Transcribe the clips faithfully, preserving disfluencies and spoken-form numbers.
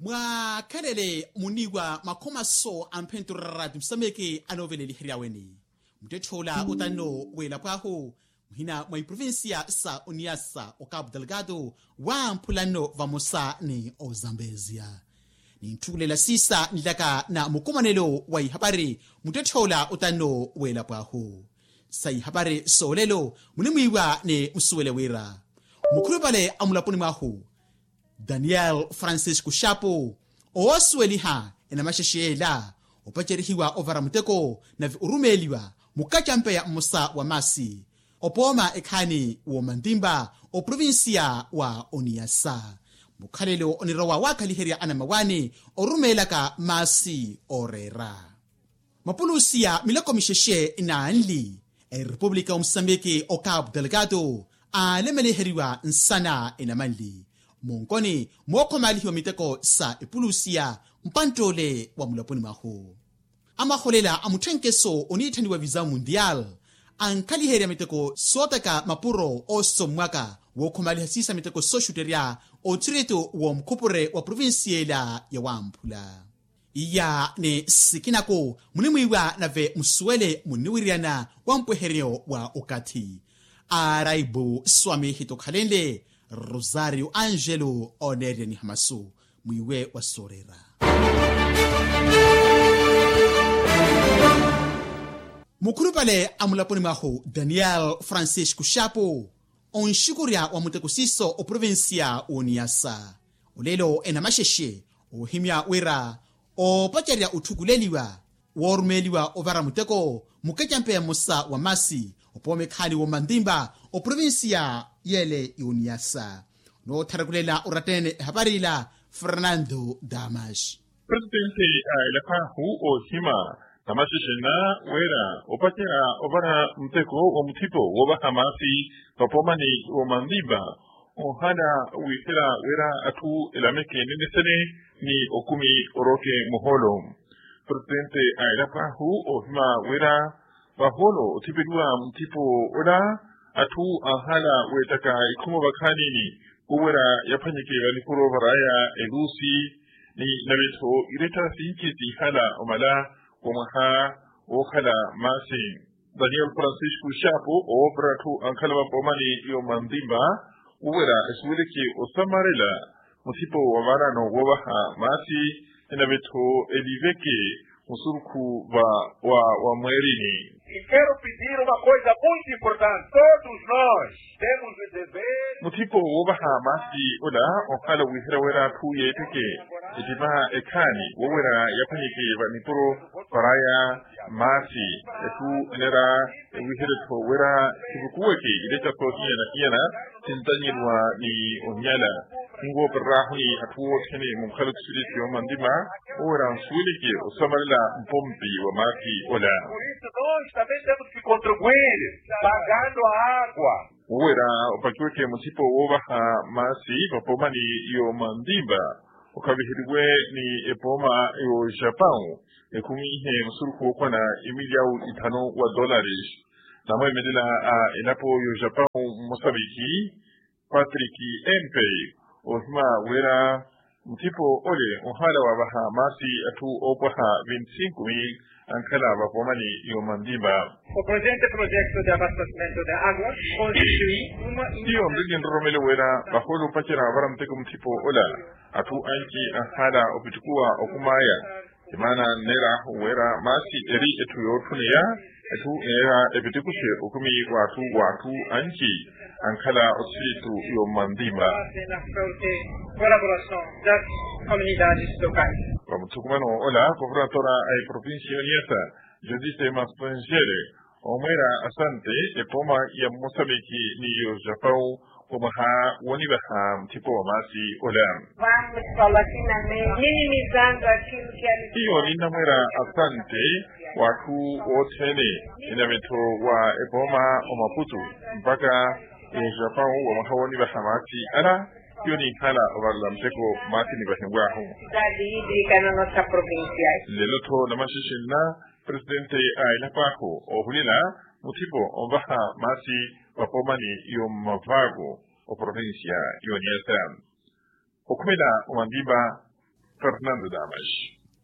Mwaakhalele muniwa makhomaso a mphentu rarati musameke anooveleliheryaweni. Muttetthe ola otanno w'elapo ahu muhina mwa iprovincia sa oniyasa okapu delgado wamphulanno vamosa ni ozambezia. Nintthukhulela siisa nilaka na mukumanelo wa ihapari muttetthe ola otanno w'elapo ahu. Sa ihapari soolelo munimwiiwa ni musuwele wira mukhulupale a mulaponi mwahu daniel francisco xapo oosuweliha enamaxexe yeela opacerihiwa ovara muteko nave orumeeliwa mukacampeya mmosa wa maasi opooma ekhaani w'omantimba oprovincia wa oniyasa. Mukhalelo onirowa waakhaliherya anamawaani orumeelaka maasi ooreera mapulusi a miloko mixexe naanli erepupulika wa musambiki okapu delgado aalemeliheriwa nsana enamanli monkoni mookhomalihiwa miteko sa epulusiya mpanttoole wa mulaponi mwahu. Amaholela a mutthenkeso oniitthaniwa visa mundial ankhaliherya miteko sootaka mapuro oosommwaka wookhomaliha siisa miteko sooxutterya othirito w'omukhupure wa provincia ela ya wamphula. Iya ni sikinaku munimwiiwa nave musuwele muniwiryana wa mpweheryo wa okathi. Araibu swami hitokhalenle rosario angelo oneerya nihamasu mwiiwe wa sooreera. Mukhulupale a mulaponi mwahu daniel francisco xapo onxukurya wa muteko siiso oprovincia w'oniyasa. Olelo enamaxexe oohimya wira oopacerya otthukuleliwa woorumeeliwa ovara muteko mukecampeya mmosa wa maasi opooma ekhaani w'omantimba oprovincia yeele y'oniyasa. Nootharakulela oratta-ene ehapari ila fernando damas. Presitente a elapo ahu oohima namaxexe nna wira opacerya ovara muteko wa muthipo woovaha maasi vapoomani w'omantimba onhala wiihela wira atthu elameke nenesene ni okumi orooke muhoolo. Presitente a elapo ahu oohima wira vahoolo othipeliwa muthipo ola atthu anhala weettaka ikhumo vakhaanini wowira yaphwanyeke vanipuro varaya elusi ni nave-tho irettara sinci sinhala omala wa mwaha wookhala maasi. Daniel francisco xapo owoopera atthu ankhala vapoomani y'omantimba wowira esuweleke osamarela muthipo wa vaarano woovaha maasi enave-tho eliveke musurukhu va wa wa mweerini. Quero pedir uma coisa muito importante todos nós temos o dever. Muthipo woovaha maasi ola onkhala wiiherya wira atthu yeetteke ettipa ekhaani wowira yaphwanyeke vanipuro varaya maasi. Etthu enera ewiherye-tho wira kivukuweke ileca soohiyana-hiyana sintanyeriwa ni onyala. Ninwoopererahuni atthu othene munkhala othisiritthi yoomantima wowira nsuweleke osamarela mpompi wa maasi ola. Por isso nós também temos que contribuir pagando a água. Wowira opakiweke muthipo woovaha maasi vapoomani yoomantimba okhaviheriwe ni epooma y'ojapau ekhumiihe musurukhu wookhwana emilyawu ithanu wa dolares. Namweemelela a elapo y'ojapau mmusaviki patrick empe oohima wira muthipo ole onhala waavaha maasi atthu oopwaha vinti-sinku mil ankhala vapoomani y'omantimba. O presente projeto de abastecimento de agua constitui uma iyo nriki nroromelo wira vahoolo opacerya avara muteko muthipo ola atthu anci anhala opitikuwa okumaya. Emaana nneera wira maasi eri etthu yootthuneya etthu eneera epitikuxe okumi w'atthu w'atthu anci ankhala othisirithu y'omantima. Colaboração das comunidades locais. Vamuthukumano ola governadora a eprovincia y'oniyasa josise mastrangere omweera asante epooma ya mmosamiki ni yo japau wa mwaha wonivaha muthipo wa maasi ola. Iyo ninnamweera asante w'atthu othene enamintho wa epooma omaputu mpakha ejapau wa mwaha wonivaha maasi ala. Hiyo ninkhala ovarela muteko maasi nivahiw'ahu. Nlelo-tho namaxexe nna presidente a elapo ahu oohulela muthipo onvaha maasi vapoomani y'omavaaku oprovincia y'oniyasa. Okhumela omandimba Fernando damas.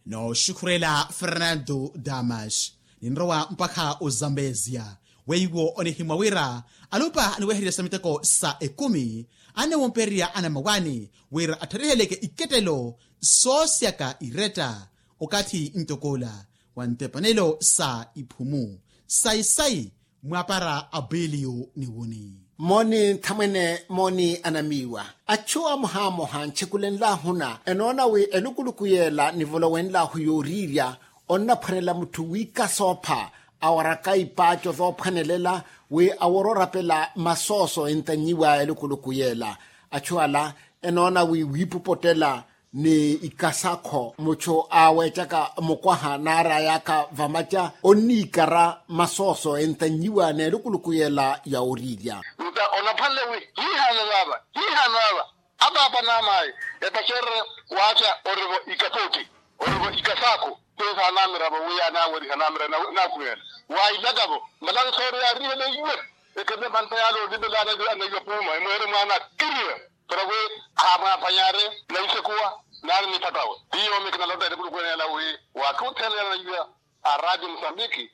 Nooxukhurela fernando damas. Ninrowa mpakha ozambezia weiwo onihimwa wira alupa aniwehererya sa miteko sa ekumi annewompererya anamawani wira atthariheleke ikettelo soosyaka iretta okathi ntokoola wa ntepanelo sa iphumu sayi-sayi mwaapara apeliyo niwuni. Mooni nthamwene mooni anamiiwa. Achu amoha-amoha ntxekulenlahuna enoona wi elukuluku yeela nivolowenlahu yooriirya onnaphwanela mutthu wiikasoopha awaraka ipaaco zoophwanelela wi aworoorapela masooso entannyiwa elukuluku yeela. Achu ala enoona wi wiipupottela ni ikasakho muchu aaweettaka mukwaha naari ayaakha vamaca onniikara masooso entannyiwa n'elukuluku yeela ya oriirya. Nta onaphwanle wi hiihaano vaava hiihaano ava apaapa n'amayi epacererye waaca orivo ikapooti orivo ikasakho. Peesa anamiravo wi yaanaaweriha anamira naakhumyana waailakavo malansoori yaariheleiwe. Ekele mantha yaale olivela anaiwa puuma emweere mwaana akiriwe. Para wi ahamwaaphanyare naisekuwa naari niphattawe. Tiyo mikinalota elukuluku eneela wi waakha othene yanayiwa a radio mosambiki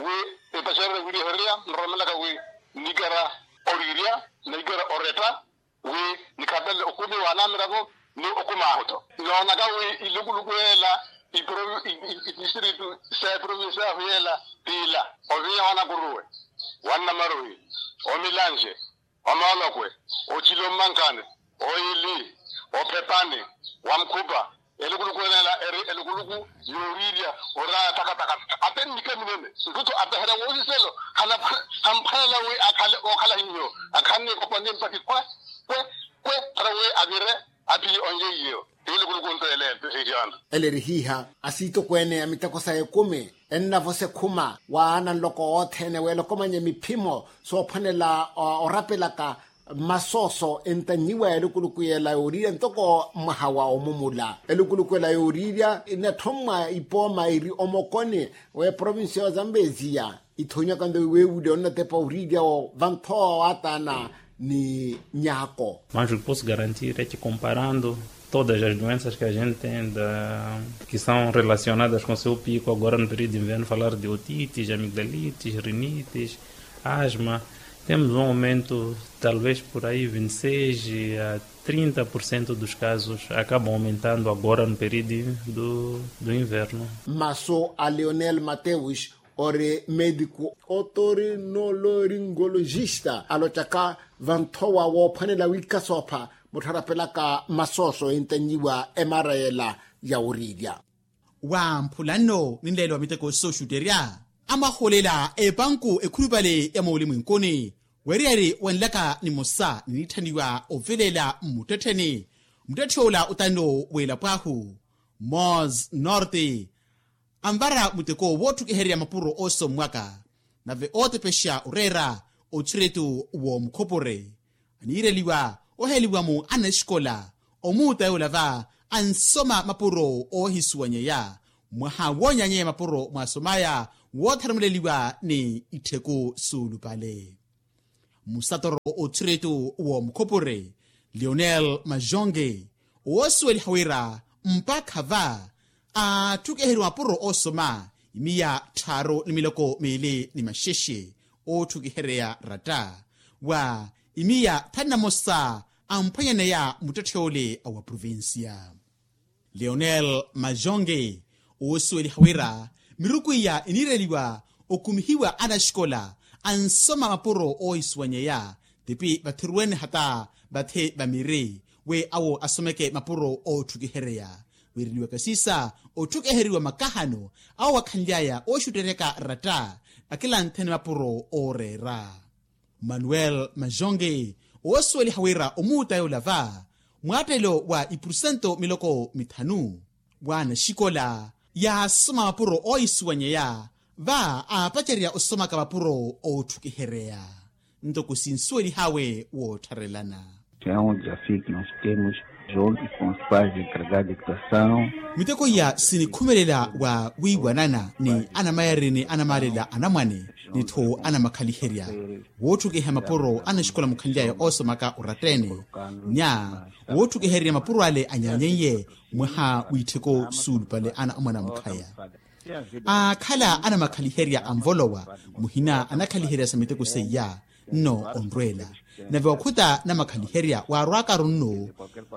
wi epacererye wirihererya nromelaka wi nikera oriirya nikera oretta wi nikhaapelele okumi waanamiravo ni okumi ahutto. Noonaka wi ilukuluku yeela itistritu sa eprovincia yahu yeela tiila ovinya wanakuruwe wannamaruhi omilanje omoolokwe ocili ommankani oyili ophepani wamkhupa. Elukuluku eneela eri elukuluku yooriirya oraya takataka ate nnika minene ntutu apeherya woosiselo. Hamphwanela wi akhale ookhala hiyo akhanne ekopani mpakhi kwe kwe kwe para wi avire aphiye onjeiyo. Ti elukuluku nto ele ehihiana. Ele eri hiiha asiitokweene a miteko sa ekumi ennavosa ekhuma waana nloko othene weela okomanya miphimo soophwanela orapelaka masooso entannyiwa elukuluku yeela yooriirya ntoko mwaha wa omumula. Elukuluku ela yooriirya enathommwa ipooma eri omokoni w'eprovincia ya ozambeziya ithonyaka nto weewuule onnatepa oriirya vanthowa waataana ni nyaako. Mas o que posso garantir é que comparando todas as doenças que a gente tem da que são relacionadas com seu pico agora no período de inverno falar de otites amigdalites rinites asma temos um aumento talvez por aí vinte e seis a trinta por cento dos casos acabam aumentando agora no período do inverno. Masu a leonel mateus ori mediku otorinoloringologista alottaka vanthowa woophwanela wiikasoopha muttharapelaka masooso entannyiwa emara yela ya oriirya. Wamphulanno ninleelo wa miteko sooxutterya amwaholela epanku ekhulupale ya moolimwenkuni weriyari wanlaka nimosa ninitthaniwa oveleela mmuttettheni. Muttetthe ola otanno w'elapo ahu mos norte anvara muteko wootthukihererya mapuro oosommwaka nave ootepexa oreera othiritu w'omukhupure. Aniireliwa oheliwa-mu anaxikola omuuta yoola va ansoma mapuro oohisuwanyeya mwaha woonyanyeya mapuro mwaasomaya wootharumeleliwa ni ittheku suulupale. Musatoro othiritu w'omukhupure lionel majonge woosuweliha wira mpakha va aatthukiheriwa mapuro oosoma imiya tthaaru ni miloko miili ni maxexe ootthukihereya ratta wa imiya thanu na mosa amphwanyaneya muttetthe ole a wa provincia. Leonel majonge oosuweliha wira miruku iya iniireliwa okumihiwa anaxikola ansoma mapuro oohisuwanyeya tipi vathiruwene hata vathe vamiri wi awo asomeke mapuro ootthukihereya. Wiireliwaka siisa otthukiheriwa makahano awo akhanly'aya ooxutteryaka ratta akilanthene mapuro ooreera. Manuel majonge oosuweliha wira omuuta yoola va mwaattelo wa ipurusento miloko mithanu w'anaxikola yaasoma mapuro oohisuwanyeya va aapacerya osomaka mapuro ootthukihereya. Ntoko sinsuwelih'awe woottharelana. Miteko iya sinikhumelela wa wiiwanana ni anamayari ni anamaalela anamwane Nitthu anamakhaliherya wootthukiha mapuro anaxikola mukhanly'aya oosomaka oratta-ene. Nya wootthukiherya mapuro ale anyaanyen'ye mwaha w'itthiko suulupale ana omwana mukhaya. Aakhala anamakhaliherya anvolowa muhina anakhaliherya sa miteko seiya. Nno onrweela nave wakhuta namakhaliherya waarwaakaru nno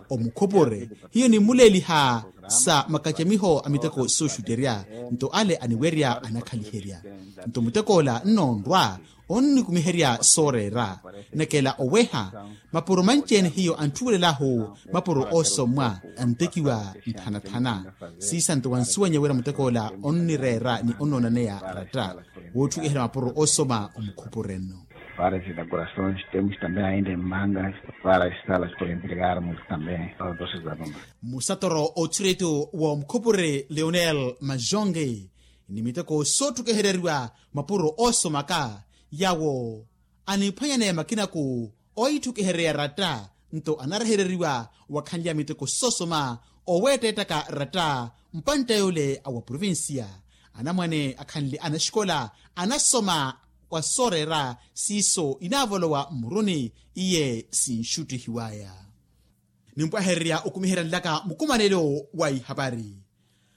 omukhupure hiyo nimmuleeliha sa makacamiho a miteko sooxutterya. Nto ale aniwerya anakhaliherya nto mutek'ola nno onrwa onnikumiherya sooreera. Nakela oweha mapuro manci-ene hiyo antthuwelelahu mapuro oosommwa antekiwa nthana-thana. Siisanto wansuwanya wira mutek'ola onnireera ni onnoonaneya ratta wootthukiherya mapuro oosoma omukhupure nno. Várias inaugurações, temos também ainda em mangas várias salas para entregarmos também aos nossos alunos. Musatoro othiretu wa omukhupure leonel majonge ni miteko sootthukihereriwa mapuro oosomaka yawo aniphwanyaneya makinaku oitthukihereya ratta nto anarehereriwa wakhanlya miteko soosoma oweetteettaka ratta. Mpantta yole a wa provincia anamwane akhanle anaxikola anasoma wa sooreera siiso inaavolowa mmuruni iye sinxuttihiwaya. Nimpwahererya okumiherya nlaka mukumanelo wa ihapari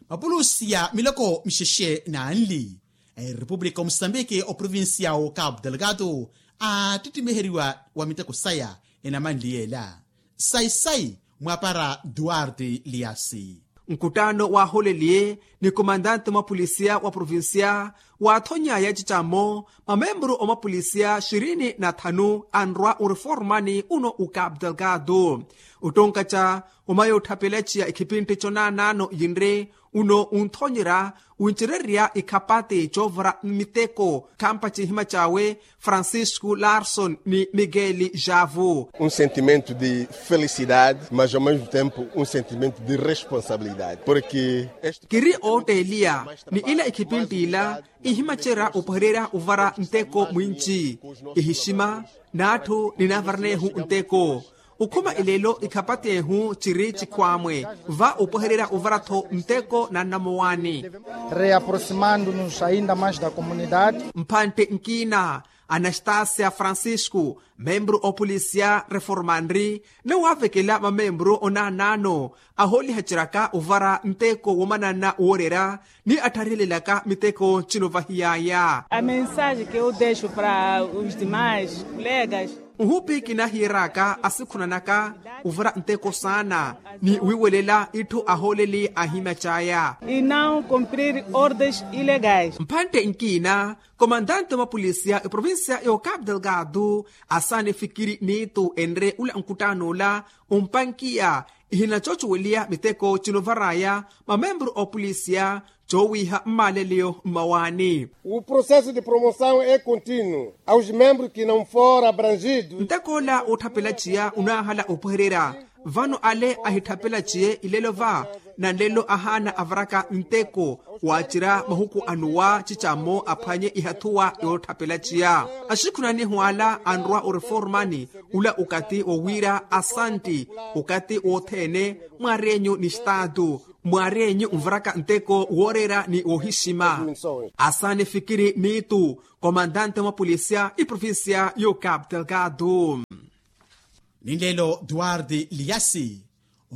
mapulusi ya miloko mixexe naanli a erepupulika omusambiki oprovincia wo capu delgado aattittimiheryiwa wa miteko saya enamanli yeela. Sayi-sayi mwaapara duarte liasi. Nkuttaano waaholeliye ni komandante mwapolisiya wa provinciya waathony'aya cicammo mamemburu omwapolisiya xirini na thanu anrwa oreformani uno ucap delgado. Ottonkaca omaya otthapelaciya ikhipintti conaanaano yinri uno onthonyerya wincererya ikhapati coovara mmiteko khampa cihima cawe francisco larson ni miguel javo. Um sentimento de felicidade mas ao mesmo tempo um sentimento de responsabilidade porque kiri ootteeliya ni ila ikhipintti ila ihimacerya opahererya ovara nteko mwinci ihixima n'atthu ninaavaranehu nteko. Okhuma eleelo ikhapatehu ciri cikhwaamwe va opahererya ovara-tho nteko na nnamowaani. Reaproximando-nos ainda mais da comunidade. Mphantte nkiina anastasia francisco membru opolisiya reformanri nawaavekela mamembru onaanaano ahoolihaceryaka ovara nteko womananna wooreera ni attharihelelaka miteko cino vahiyaya. A mensaje ke eu dexo para os demais colegas. Nhupi kinahiyeraka asikhunanaka ovara nteko saana ni wiiwelela itthu ahooleli ahimya caya. E não cumprir ordens ilegais. Mphantte nkiina komandante mwapolisiya eprovincia y'ocapu delgado asaana efikiri niitu enre ula nkuttaan'ola ompankiya ihinacocoweliya miteko cinovar'aya mamembru opolisiya coowiiha mmaaleleyo mmawaani. O processo de promoção é contínuo aos membros que não for abrangidos. Ntek'ola wootthapelatxiya onaahala opwehererya vano ale ahitthapelaciye ilelo va na nlelo ahaana avaraka nteko waacerya mahuku anuwa cicammo aphwanye ihathuwa yootthapelatxiya. Axikhunanihu ala anrwa oreformani ula okati wowiira asantti okati wothene mwaar'enyu ni staatu mwaar'enyu nvaraka nteko wooreera ni wohixima. Asaana efikiri niitu komandante mwapolisiya iprovincia y'ocapu delgado. Ni nlelo duarte liasi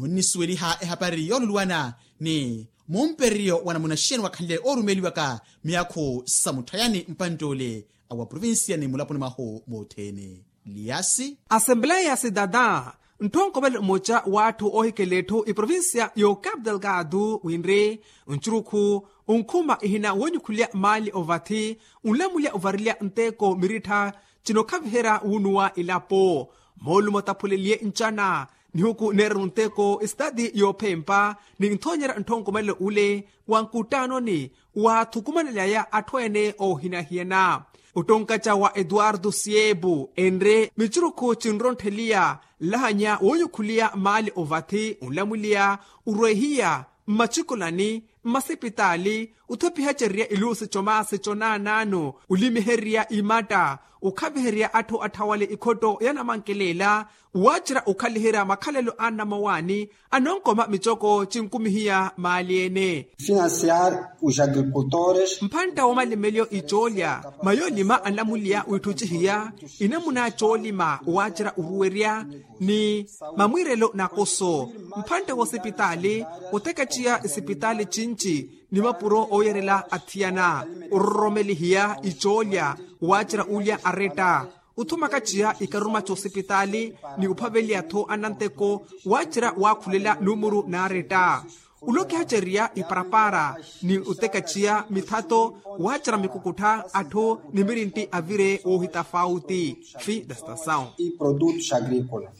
onnisuweliha ehapari yooluluwana ni mumpereryo wa namuna xeeni wakhanle oorumeliwaka miyaakhu sa mutthayani mpantt'ole a wa provincia ni mulaponi mwahu mothene. Liasi asembleya sidada ntthonkhovelo mmoca w'atthu oohikela etthu iprovincia y'ocapu delgado winri ncurukhu onkhuma ihina woonyukhulya maali ovathi onlamulya ovarilya nteko mirittha cinokhaviherya wuunuwa elapo. Moolumo taphuleliye ncana nihuku neererya onteko esitati yoophempa ni nthoonyerya ntthonkhomelelo ule wa nkuttaanoni waathukumanely'aya atthu ene oohinahiyana. Ottonkaca wa etuwarto siepu enre micurukhu cinronttheliya nlahanya woonyukhuliya maali ovathi onlamulya orwehiya mmacikolani mmasipitaali, othopihacererya iluusi comasi conaanaano, olimihererya imatta, okhavihererya atthu atthawale ikhotto ya namankelela, waacerya okhaliherya makhalelo a nnamowaani, anonkoma micoko cinkumihiya maali-ene. Financiar os agricultores. Mphantta woomalimeliyo icoolya, mayoolima annamuliya wiitthucihiya, inamuna coolima waacerya oruwerya, ni mamwiirelo nakoso. Mphantte wosipitaali, otekettiya isipitaali cinci, ni mapuro ooyerela athiyana, ororomelihiya icoolya, waacerya ulya aretta, othumakaciya ikaruma coosipitaali, ni ophaveliya-tho ananteko, waacerya waakhulela numuru naaretta. Olokihacerya iparapara, ni otekaciya mithato, waacerya mikukuttha atthu ni mirintti avire woohitafauti. Fim da citação.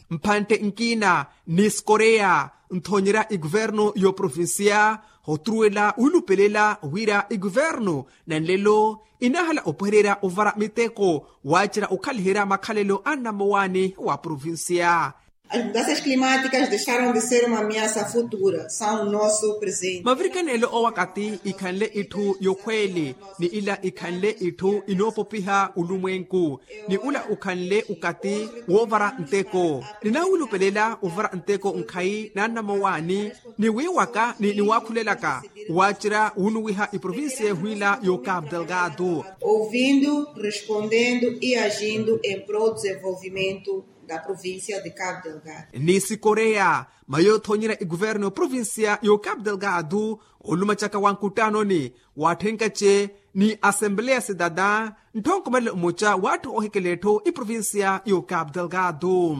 Mphantte nkiina, ni sikoreya, nthoonyerya ikuvernu y'oprovincia, hotruwela wiilupelela wira ikuvernu, na nlelo, inaahala opwehererya ovara miteko, waacerya okhaliherya makhalelo a nnamowaani wa provincia. As mudanças climáticas deixaram de ser uma ameaça futura, são o nosso presente. Mavirikanelo owakati ikhanle itthu yokhweeli, ni ila ikhanle itthu inoopopiha olumwenku, ni ula okhanle okati woovara nteko. Ninaawilupelela ovara nteko nkhayi na nnamowaani, ni wiiwaka ni niwaakhulelaka, waacerya wunuwiha iprovincia ehwiila y'ocapo delgado. Ouvindo, respondendo e agindo em prol do desenvolvimento da província de Cabo Delgado. Ni sikoreya, mayo othoonyerya ikuvernu y'oprovincia y'ocapo delgado, olumacaka wa nkuttanoni, waatthenkace, ni asembleya cidada, ntthonkomelelo mmoca w'atthu oohikela etthu iprovincia y'ocapo delgado.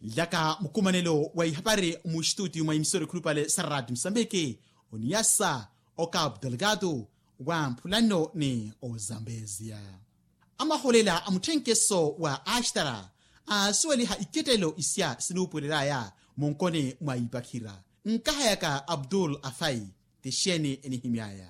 Nlaka mukumanelo wa ihapari muxituutiyu mwa emisora ekhulupale sa raati musambiki, oniyasa, ocapo delgado, wa mphulanno ni ozambezia. Amahoolela a mutthenkeso wa axtara aasuweliha ikettelo isya sinuupuwelelaya munkoni mwa ipakhira. Nkahayaka abdul afai, tixeeni enihimyaya?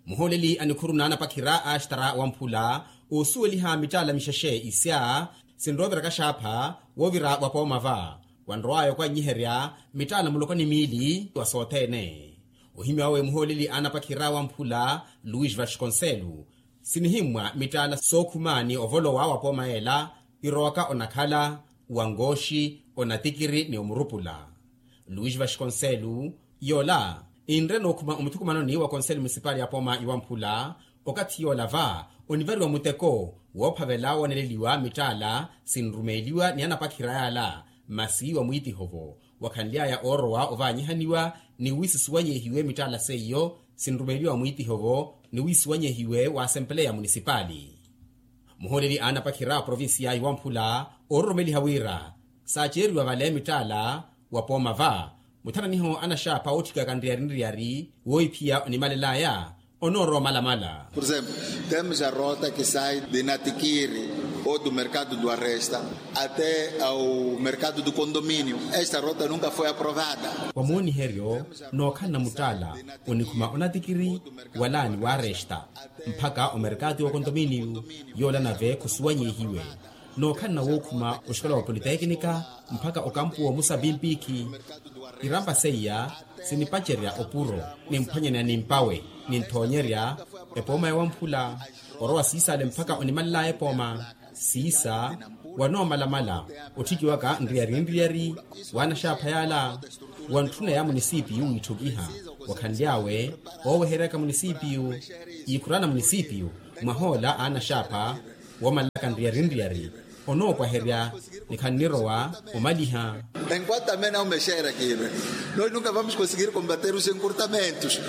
Muhooleli a nikhuru n'anapakhira a axtara wamphula, oosuweliha mittaala mixexe isya sinroovira kaxaapha woovira wapooma va, wanrowaya okwanyiherya mittaala muloko ni miili wa sothene. Ohimya wawe muhooleli a anapakhira wamphula, luis vasconcelo, sinihimmwa mittaala sookhuma ni ovolowa wapooma ela, irowaka onakhala, wangooxi, onatikiri ni omurupula. Luis vasconcelo, yoola inre nookhuma omuthukumanoni wa konseli munisipali ya pooma iwamphula, okathi yoola va onivariwa muteko woophavela wooneleliwa mittaala sinrumeeliwa ni anapakhira yaala, masi wa mwiitiho-vo, wakhanly'aya oorowa ovaanyihaniwa ni wiisisuwanyehiwe mittaala seiyo sinrumeeliwa wa mwiitiho-vo ni wiisuwanyehiwe wa asempeleya munisipali. Muhooleli a anapakhira a provincia iwamphula, oororomeliha wira saaceeriwa vale mittaala wa pooma va, muthananiho anaxaapha ootthikaka nriyari nriyari woophiya onimalelaya onoorowa omalamala. Por exemplo, temos a rota que sai de natikiri ou do mercado do arresta até ao mercado do condomínio. Esta rota nunca foi aprovada. Wa mooniheryo nookhalana muttaala onikhuma onatikiri wala ni waaresta mpakha omerkatu y'okontominiyu, yoola nave khusuwanyehiwe. Nookhalana wookhuma oxikola wa politekinika mpakha okampu woomusa pimpikhi. Irampa seiya sinipacerya opuro nimphwanyana nimpawe ninthoonyerya epooma yowamphula. Orowa siisale mpakha onimalelaya epooma siisa wanoomalamala otthikiwaka nriyari nriyari w'anaxaapha yaala, wantthuna ya munisipiyu wiitthukiha wakhanly'awe ooweheryaka munisipiyu. Iikhurana munisipiyu mwahoola a anaxaapha woomalelaka nriyari nriyari onoopwaherya ni khannirowa omaliha. Enquanto também não mexer aquilo, nós nunca vamos conseguir combater os encurtamentos.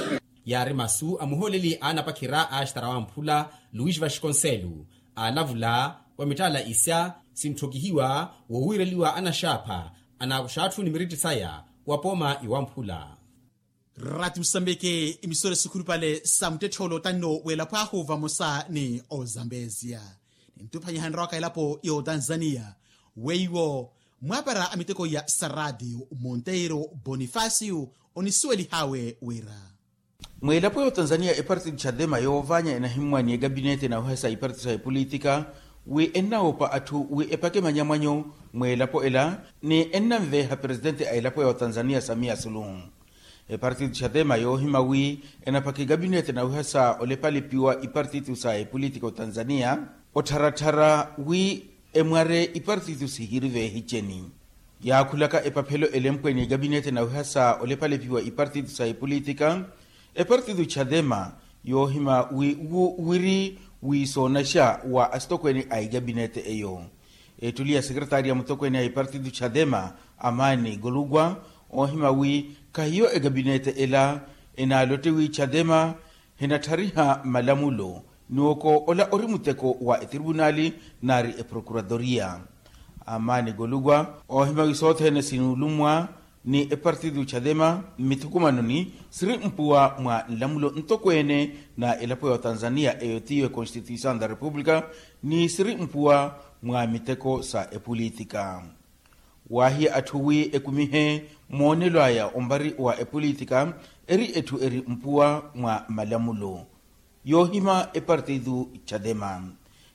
Yaari masu a muhooleli a anapakhira a axtara wamphula, luis vasconcelo, aalavula wa mittaala isya sintthokihiwa wowiireliwa anaxaapha anaakuxa atthu ni miritti saya wa pooma iwamphula. Rati musambeke imisore sikhulupale sa muttettholo tanno w'elapo ahu vamosa ni ozambezia. Nintuphanyiha nrowaka elapo y'otanzania weiwo mwaapara a miteko ya saradi monteiro bonifacio onisuwelih'awe wira. Mw'elapo y'otanzania eparti di chadema yoovaanya enahimmwa ni ekapinete na ohesa iparti sa epolitika wi ennawopa atthu wi epake manyamwanyo. Mweelapo ela ni ennanveeha presidente a elapo ya otanzania samia suluhu. Epartitu xatema yoohima wi enaphaka ekabinete nawiha sa olepalepiwa ipartitu sa epolitika otanzania, ottharattharya wi emware ipartitu sihiri veehiceni. Yaakhulaka epaphelo elempwe ni ekabinete nawiha sa olepalepiwa ipartitu sa epolitika, epartitu xatema yoohima wi wu wiri wisoonaxa wa asitokweene a ekabinete eyo. Ettuli ya sekretaari ya mutokweene a ipartitu xatema, amaani golugwa, oohima wi khahiyo ekabinete ela enaalottiwi xatema, hinattariha malamulo ni oko ola ori muteko wa etripunaali naari eprokuratoria. Amaani golugwa oohima wi sothene sinuulummwa ni epartitu xatema mmithukumanoni siri mpuwa mwa nlamulo ntokweene na elapo ya otanzania eyo tiyo econstituição da república, ni siri mpuwa mwa miteko sa epolitika. Waahiya atthu wi ekumihe moonelo aya ompari wa epolitika eri etthu eri mpuwa mwa malamulo. Yoohima epartitu xatema,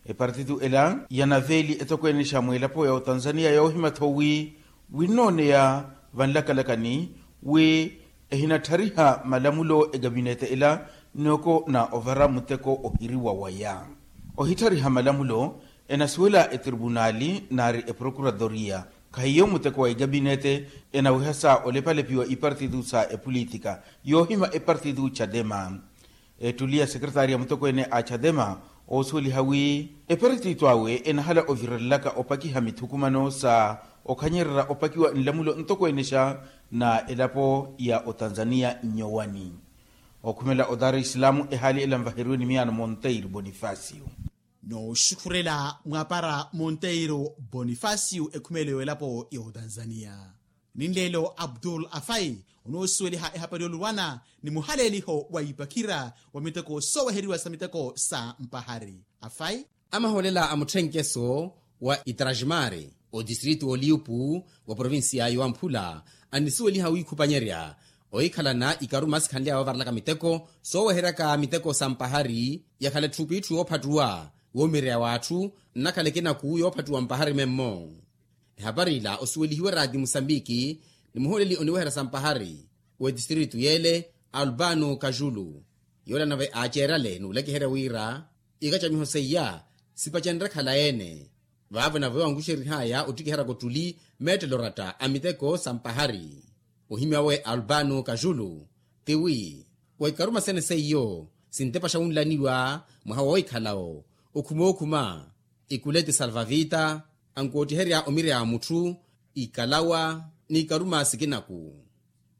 epartitu ela yanaveeli etokweenexa mweelapo ya otanzania yoohima-tho wi winnooneya vanlakalakani wi ehinatthariha malamulo ekabinete ela, noko na ovara muteko ohiriwa waya. Ohitthariha malamulo enasuwela etripunaali naari eprokuratoria. Khahiyo muteko wa ekabinete enawiha sa olepalepiwa ipartitu sa epolitika yoohima epartitu xatema. Ettuli ya sekretaari ya mutokweene a xatema oosuweliha wi epartitu awe enahala ovirelelaka opakiha mithukumano sa okhanyererya opakiwa nlamulo ntokweenexa na elapo ya otanzania nnyowani. Okhumela otaara isilamu ehaali ela nvaheriwe ni miyaano monteiro bonifacio. Nooxukhurela mwapara monteiro bonifacio ekhumelo y'elapo ya otanzania. Ninleelo abdul afai onoosuweliha ehapari yoluwana ni muhaleeliho wa ipakhira wa miteko sooweheriwa sa miteko sa mpahari. Afai amahoolela a mutthenkeso wa itrajmari otistritu oliupu wa provincia ya wamphula annisuweliha wiikhupanyerya ohikhalana ikaruma sikhanly'awe ovarelaka miteko sooweheryaka miteko sa mpahari yakhala etthupitthu yoophattuwa woomireya w'atthu nnakhala ekinaku yoophattuwa mpahari memmo. Ehapari ila osuwelihiwe raati musambiki ni muhooleli oniweherya sampahari w'etistritu y'ele alpano kajulu. Yoola nave aaceeryale n'ulekeherya wira ikacamiho seiya sipacenre khala ene. Vaavo nave wankuxerih'aya ottikiheryaka ottuli meettelo oratta a miteko sampahari. Ohimya we alpano kajulu tiwi wa ikaruma sene seiyo sintepaxa wunlaniwa mwaha woohikhalawo okhumookhuma ikuleti salvavita ankoottiherya omireya wa mutthu ikalawa n'ikaruma sikinaku.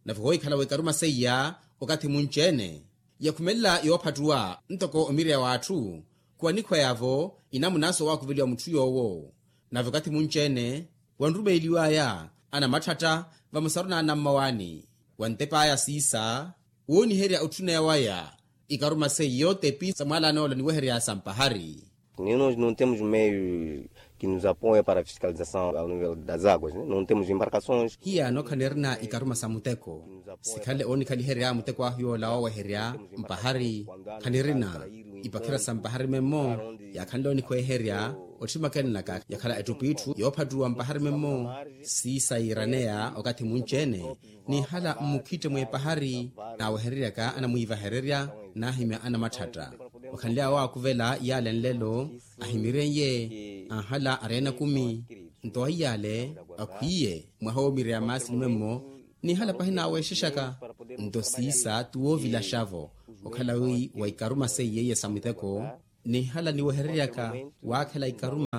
Nave hoohikhalawo ikaruma seiya okathi munci-ene yakhumelela yoophattuwa ntoko omireya w'atthu khuwanikhweyavo inamuna soowaakuveliwa mutthu yoowo. Nave okathi munci-ene wanrumeeliw'aya anamatthatta vamosaru n'anammawaani wantep'aya siisa wooniherya otthuneya waya ikaruma seiyo tepi sa mwaalan'ola niweherya sampahari. Nino nontemos meios que nos apoia para fiscalização ao nível das águas nontemos embarcações. Hiyaano khanirina ikaruma sa muteko sikhanle oonikhaliherya muteko ahu yoola wooweherya mpahari. Khanirina ipakhira sa mpahari memmo yaakhanle oonikhweherya otthima kennaka yakhala ettupwitthu yoophattuwa mpahari memmo. Siisa yiiraneya okathi munci-ene nihala mmukhitte mw'epahari naawehereryaka anamwiivahererya naahimya anamatthatta. Wakhanly'awe waakuvela iyaale nlelo ahimiren'ye anhala areena ekumi. Nto aiy'ale akhwiiye mwaha woomireya maasini memmo nihala pahi naaweexexaka. Nto siisa ti woovilaxa-vo okhala wi wa ikaruma seiye iya sa muteko nihala niwehereryaka waakhela ikaruma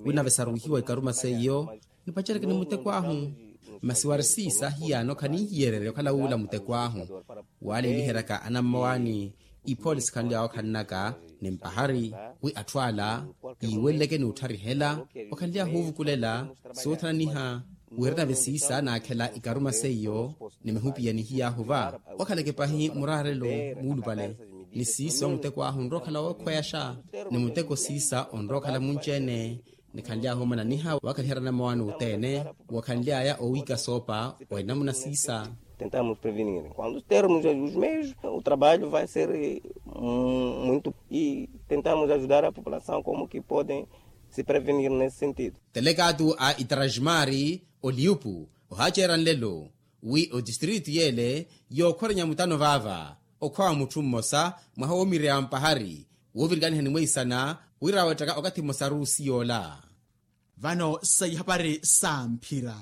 wi nave saruwihiwa ikaruma seiyo nipacereke ni muteko ahu. Masi wari siisa hiyaano khaninhiyererya okhala wuula muteko ahu. Waaleeliheryaka anammawaani iphoolisi khanly'awe okhannaka ni mpahari wi atthu ala yiiweleleke ni ottharihela. Okhanly'ahu oovukulela soothananiha wira nave siisa naakhela ikaruma seiyo ni mahupiya nihiy'ahu va. Wakhaleke pahi muraarelo muulupale ni siisa wa muteko ahu onrowa okhala wookhweyaxa ni muteko siisa onrowa okhala munci-ene. Nikhanly'ahu omananiha wakhaliherya anammawaani othene wakhanly'aya owiika soopa wa inamuna siisa. Tentamos prevenir quando termos os meios o trabalho vai ser muito e tentamos ajudar a população como que podem Se prevenir nesse sentido. Telekaatu a itarajimari oliupu ohaceera nlelo wi otistritu yele yookhorenya mutano vaava okhwawa mutthu mmosa mwaha woomireya mpahari woovirikaniha ni mweisana wira awettaka okathi mmosa ruusi yoola. Vano sa ihapari sa mphira.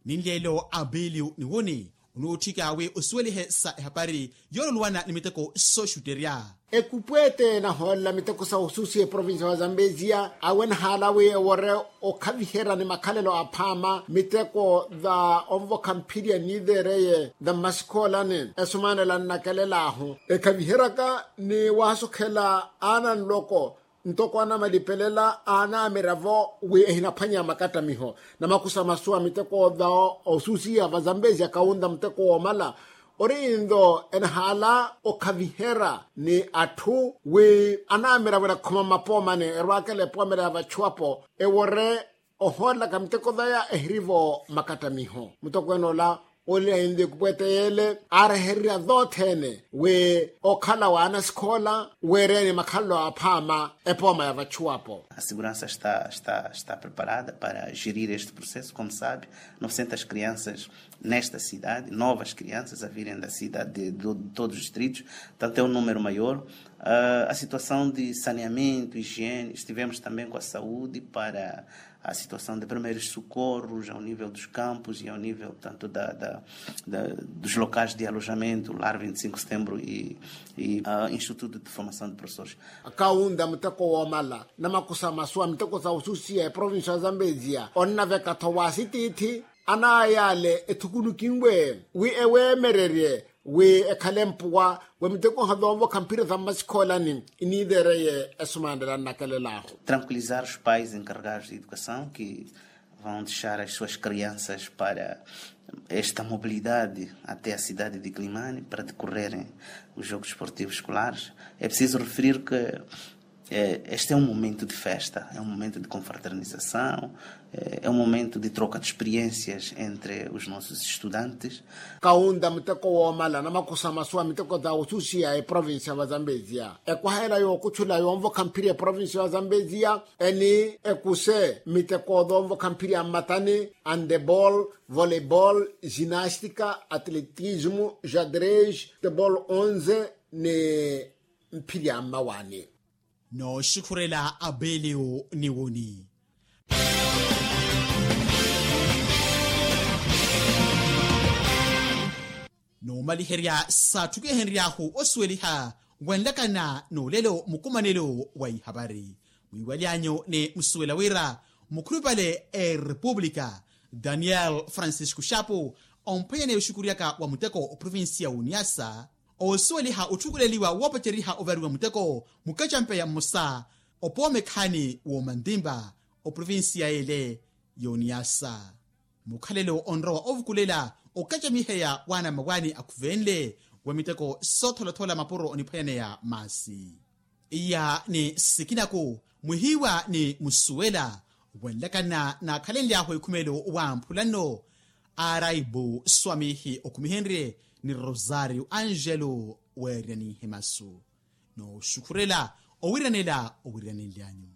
Ninleelo abeliu niwuni onuutthika wi osuwelihe sa ehapari yoololuwana ni miteko sooxutterya. Ekupweete enahoolela miteko sa osusiya eprovincia wa zambezia awenahaala wi ewore okhaviherya ni makhalelo aphaama miteko va onvokha mphirya niiveereye va mmasikhoolani esumanela nnakelelaahu ekhaviheryaka ni waasokhela aana nloko ntoko anamalipelela aanamiravo wi ehinaphwanya makattamiho. Namakusa masu a miteko va osusiya va zambezia kawunta muteko woomala ori inlo enahaala okhaviherya ni atthu wi anamiravo enakhuma mmapoomani erwaakela epoomela ya vachuwapo ewore ohoolelaka miteko vaya ehirivo makattamiho mutokweene ola. Olila inlo ekupweete yeele aarehererya thoothene wi okhala wa anasikhoola weereni makhalelo aphaama epooma ya vachuwapo. A segurança está preparada para gerir este processo como sabe novecentas crianças nesta cidade novas crianças a virem da cidade de todos os distritos. Portanto é um número maior. A situação de saneamento higiene estivemos também com a saúde para a situação de primeiros socorros ao nível dos campos e ao nível portanto da dos locais de alojamento lar vinte e cinco setembro e instituto de formação de professores. Kawunta muteko woomala namakusa masu a miteko sa osusiya eprovincia ya zambezia onnaveka-tho wa asitiithi anaayale ethukunukinwe wi eweemererye wi ekhale mpuwa wa miteko nhavi onvokha mphira sa mmasikhoolani iniiveereye esumanela nnakelelaahu. Tranquilizar os pais encarregados de educação que vão deixar as suas crianças para esta mobilidade até a cidade de climane para decorrerem o jogo desportivo escolares. É preciso referir que este é um momento de festa é um momento de confraternização. É um momento de troca de experiências entre os nossos estudantes. Kawunta muteko woomala namakusa masu a miteko sa osusiya eprovincia va zambezia ekwahela yookutthula yoonvokha mphiri eprovincia va zambezia eni ekuse miteko thoonvokha mphiri a mmatani, handeball, volleyball, ginastica, atletismo, jadrez, tebol onze ni mphiri a mmawaani. Nooxukhurela apeliyo ni woni. Noomaliherya saatthukihenry'ahu osuweliha wenlakana n'ulelo mukumanelo wa ihapari mwiiwalyanyu ni musuwela wira mukhulupale a erepupulika daniel francisco xapu omphwanyaneya oxukuryaka wa muteko oprovincia w'uniyasa oosuweliha otthukuleliwa woopaceryiha ovariwa muteko mukacampeya mmosa opooma ekhaani w'omantimpa oprovincia y'ele y'oniyasa. Mukhalelo onrowa ovukulela okacamiheya waana mmawaani akhuvenle wa miteko sootholathoola mapuro oniphwanyaneya maasi. Iya ni sikinaku mwihiiwa ni musuwela wenlakana naakhalenly'ahu ekhumelo wa mphulanno. Araibu swamihi okhumihenrye ni rosario angelo weeryan'ihe masu. Nooxukhurela owiranela owiranenly'anyu.